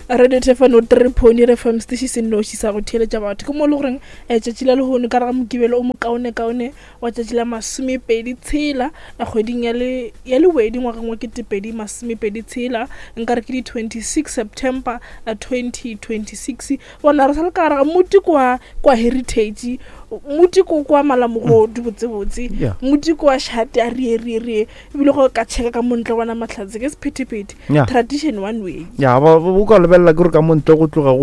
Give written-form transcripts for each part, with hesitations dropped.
Radio Thefano 3.0 FM station se nnoši sa go theeletša batho ke mo e le goreng um tšatši la lehono ka re ga mokibelo o mokaonekaone wa tšatši la masomepedi tshela kgweding ya le ya lewedi ngwageng wa ketepedi masomepedi tshela nka re ke di 26 September 2026 bona re sa le ka gare ga moti kwa kwa heritage moti ko kwa malamogodu botsebotse Yeah. moti kwa shate a rie rie rie ebile go ka checka ka montle bona mahlatse ke sephethephethe Yeah. tradition one way ya ba o ka lebelela ke gore ka montle go tloga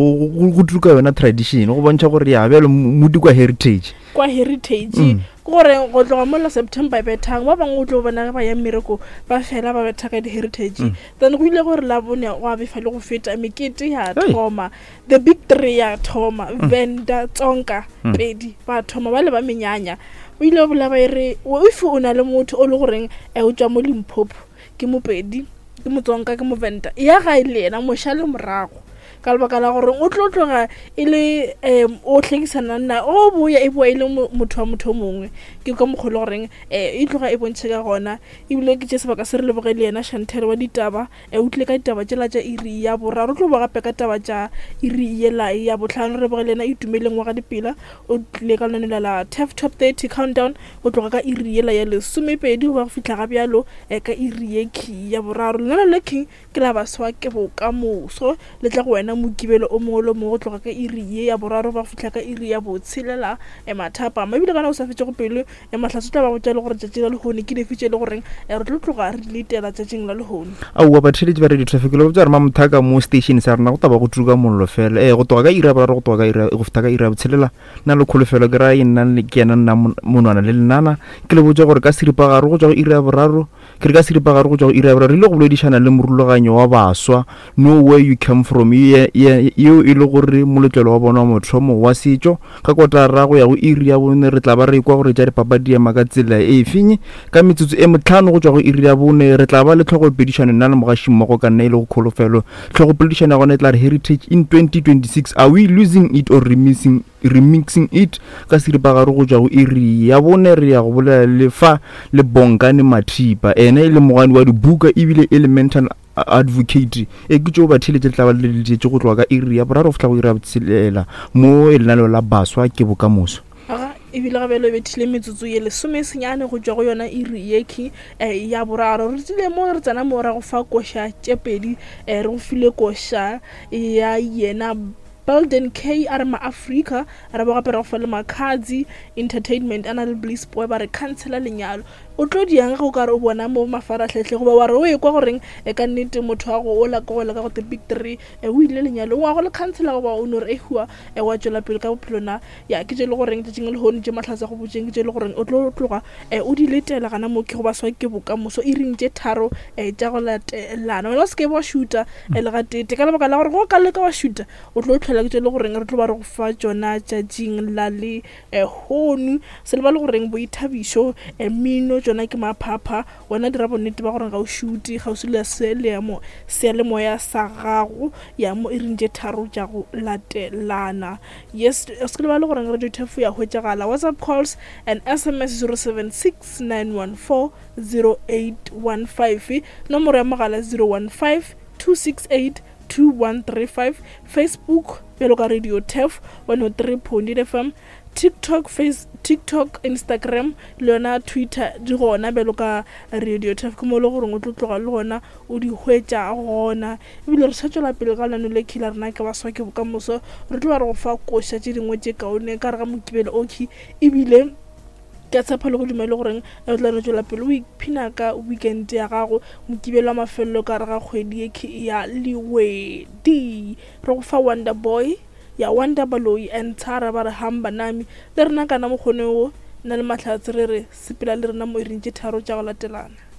go tuka yona tradition go bontšha gore ya bjalo modi kwa heritage kwa heritage mm. ke gore go tloga mola september e bethang ba bangwe o tlo bona ge ba ya mmereko ba fela ba betha ka di-heritage mm. then go ile gore la bone go a befa le go feta mekete ya thoma the big three ya thoma mm. venda tsonka mm. pedi ba thoma ba le ba menyanya o ile bola ba e re if o na le motho o le goreng eh, o tswa mo limpopo ke mopedi ke motsonka ke movenda ya gae le yena moša le morago ka lebaka la gore o tlo tloga e le um o hlekisana nna o boya e boa e le motho wa motho o mongwe ke ka mokgwa e le goreng um e tloga e bontšhe ka gona ebile ke tše sebaka se re leboge le yena shantel wa ditaba E o tlile ka ditaba tšela tša iri ya boraro, o tlo boa gape ka taba tša iri yela ya bohlano. Re leboge le yena Itumeleng wa ga Dipela, o tlile ka lenaneo la Turf Top 30 Countdown go tloga ka iri yela ya lesomepedi go ba go fihla ga bjalo e, ka iri ye key ya boraro. Lenaneo le king ke la baswa ke bokamoso, le tla go wena Mokibelo o mongwe le o mongwe go tloga ka iri ye ya boraro go ba go fihla ka iri ya botshelela e mathapama. Ebile ka nako sa fetšego pelo E Mahlatse o tla ba botša le gore tšatši la lehono ke dife tše e le goreng eh, re tlo tloga re di letela tšatšing la lehono. Aowa batheeletši ba Radio Traffic le botša gore mamothaka mo station sa rena go taba go tuka mollo fela ee go tloga ka iri ya boraro go tloga ka iri go fihla ka iri ya botshelela nna le kholofelo ke ra e nna ke yena nna monwana le lenana ke le botša gore ka seripagare go tšwa go iri ya boraro Ke re ka seripagare go tšwa go iri ya boraro re ile go boledišana le morulaganyo wa baswa Know Where You Came From yeo e le gore moletlelo wa bona wa mothomo wa setšo. Ka kotara go ya go iri ya bone re tla ba re kwa gore tša dipapadi di ema ka tsela e feng. Ka metsotso e metlhano go tšwa go iri ya bone re tla ba le tlhogopedišano nna le mogašimmogo ka nna e le go Kholofelo. Tlhogopoledišano ya gona e tla re Heritage in 2026, Are we losing it or remixing Remixing It ka seripagare go tšwa go iri ya bone re ya go bolela le fa le Bongani Mathipa ene e le mogani wa dibuka ebile e le mental advocate e ke tšeo batheeletše le tla ba le leletše go tloga ka iri ya boraro go fihla go iri ya botshelela mo e lenaneo la baswa ke bokamoso. Aga ebile ga bjalo e bethile metsotso ye lesomesenyane go tšwa go yona iri yekhi eh, ya boraro. Re tsile mo re tsena mo ra go fa koša tše pedi eh, re go file koša ya yena Belden K a re maAfrika re bo gape re go fa le Makhadzi Entertainment a na le Bliss Boy ba re khansela lenyalo. O tlo diang ge o ka re o bona mo mafarahlahla goba wa re o ekwa goreng e ka nnete motho wa go ola ko gola ka go the big three e o ile lenyalong wa go le khansela goba o no re ehua e wa tšwela pele ka bophelo na ya ke tše le goreng tšatšing le lehono tše mahlatse go botšeng ke tše le goreng o tlo tloga e o di letela gana mo ke go baswa ke bokamoso iring tše tharo e tša go latelana wena o se ke wa šuta e le gatete ka lebaka la gore go ka leka wa šuta o tlo tlhola ke tše le goreng re tlo ba re go fa tšona tšatšing la le hono se lebale goreng boithabišo mmino tšona ke maphapha wena dira bonnete ba gore ga o šute kgauswi le sealemoya seyalemoya sa gago ya mo iring tše tharo tša go latelana yes se lebale goreng radio turf ya hwetšagala whatsapp calls and sms 076 914 0815 nomoro ya mogala 015 268 2135 Facebook bjalo ka Radio Turf 103.8 FM TikTok face TikTok Instagram le yona Twitter di gona bjalo ka Radio Turf ke mo le goreng o tlo tloga le gona o di hwetša gona ebile re sa tšwela pele ka lano le khila rena ke baswa ke bokamoso re tlo ba re go fa koša tše dingwe tše kaone ka re ga mokibelo okhi ebile Ke a tshepa le go dumela goreng o tla no tšwela pele o iphina ka weekend ya gago, Mokibelo wa mafelelo ka gare ga kgwedi ye ya Lewedi. Re go fa Wonder Boy ya Wonder Baloyi and Tshara ba re hamba nami. Le rena kana mokgone wo, nna le Mahlatse re re sepela le rena mo iring tše tharo tša go latelana.